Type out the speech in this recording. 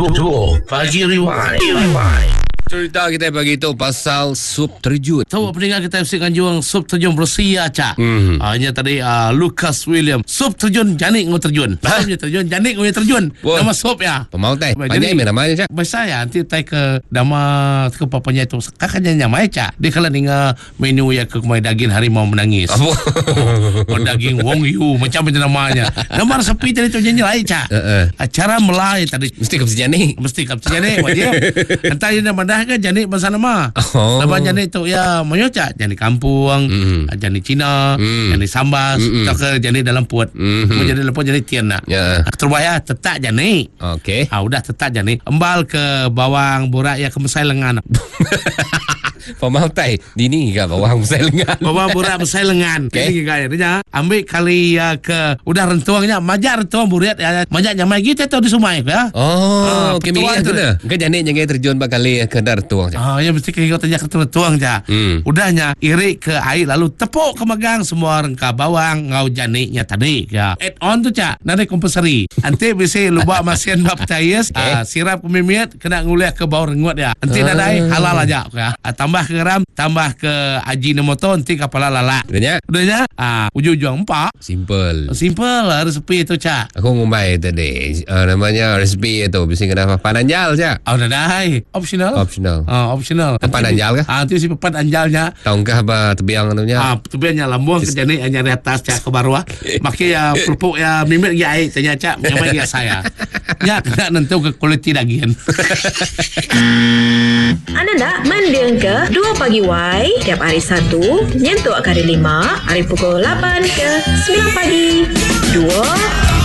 2 Pagi Rewind. Cerita kita pagi tu pasal sup terjun. Tu peninga kita bisi nganjung sup terjun bersih aca. Mhm. Ah nya tadi ah, Lucas William. Sup terjun janik ngau terjun. Sup nya terjun janik ngau terjun. Wah. Nama sup ya. Pemau tai. Jadi- Panjai meh namanya cak. Biasa ya nanti tai ke nama ke papanya itu kakaknya nyamai cak. Dia kalau ninga menu ya ke kumai daging harimau menangis. Apa? Oh, daging Wong Yu macam itu namanya. Nama resepi tadi tu nyanyi lain cak. Heeh. Acara Melai tadi Mesti ke jani. mesti kap jani wajib. Entah dia madah ke jani bahasa nama. Oh. Lepas jani tu ya mayo cak jani kampung, Mm. jani Cina, Mm. jani Sambas, Mm-mm. atau ke jani dalam puat. Mhm. Mm-hmm. Jani dalam puat jani tian nak. Ya. Terubah tetap jani. Okey. Ah udah tetap jani. Embal ke bawang borak ya ke mesai lengan. Pemau tai. Dini ke bawang besar lengan. Bawang borak mesai lengan. Okey. Ini gaya dia. Ambil kali ya, ke udah rentuangnya majak rentuang buriat ya majak nyamai kita tu di sungai ya. Oh, Ah, okey petuang milih tu. kena. Ke jani jangan terjun bakali ke dar tuang cak. Ah, ya mesti kena tanya ke tuang ja. Hmm. Udahnya irik ke air lalu tepuk ke megang semua rengka bawang ngau janiknya tadi ya. Add on tu cak, nanti compulsory. Nanti bisa lubak masian bab percaya, ah, sirap kemimiat kena nguliah ke bau rengut ya. Nanti Ah. nadai halal aja ya. Ah, tambah ke garam, tambah ke ajinomoto nanti kepala lalak. Udahnya Udahnya ah ujung-ujung empat. simple. Simple lah resepi itu cak. Aku ngumbai tadi uh, namanya resipi itu bisa kena papan anjal cak. Ah, nadai optional. Optional. Ah, optional. Papan anjal ke? Ah, nanti si papan anjalnya Tongkah ba tebiang tu nya. Ah, tu biarnya lambung ke jani hanya di atas cak ke bawah. Maki ya pelupuk ya mimik ya air tanya cak nyamai ya saya. Ya kena nentu ke kualiti daging. Anda nak mending ke 2 pagi Y tiap hari Satu, nyentuk ke hari 5, hari pukul 8 ke 9 pagi. 2